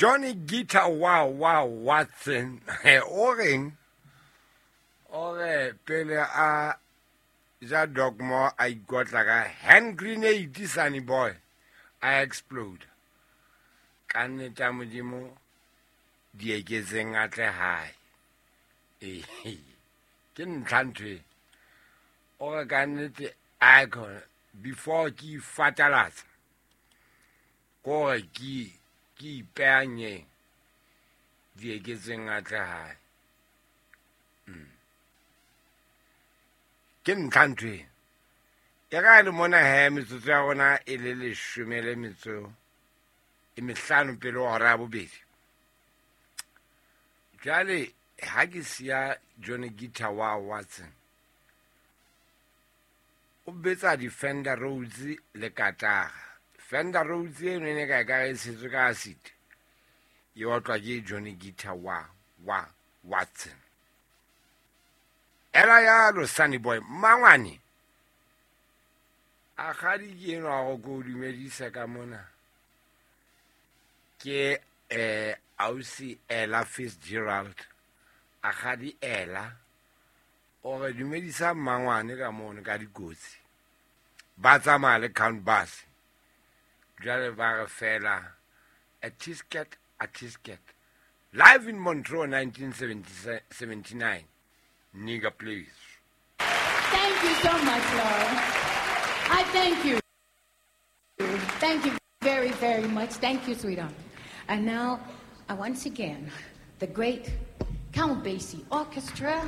Johnny Guitar Wow Wow Watson o reng? O re pele a ja dogmo a ikotla ka hand grenade, Sunny Boy, a explode. Ka nnete ya Modimo di eketseng a tle hae. Ee, ke ntlha ntho e. O re ka nnete icon before ke ifatalatsa kore ke ipeanyeng di eketseng a tle hae. Ke ntlha ntho e. E ka le mona he metsotso ya rona e le leshome le metso e mehlano pele ho hora ya bobedi. Jwale ha ke siya Johnny Guitar wa Watson o betsa di-Fender Rhodes le katara. Fender Rhodes eno e ne ka e ka e tshetswe ka acid, e otlwa ke Johnny Guitar wa Watson. Ela yalo Sunny Boy mangwane a kgadi ke enwa go ko dumedisa ka mona ke ausi Ella Fitzgerald. A kgadi Ella o re dumedisa mmangwane ka mono ka dikotsi ba tsamaya le Count Bass. Jwale ba re fela a tisket a tisket live in Montreux 1979. Nigga, please. Thank you so much, Lord. I thank you. Thank you very, very much. Thank you, sweetheart. And now, once again, the great Count Basie Orchestra.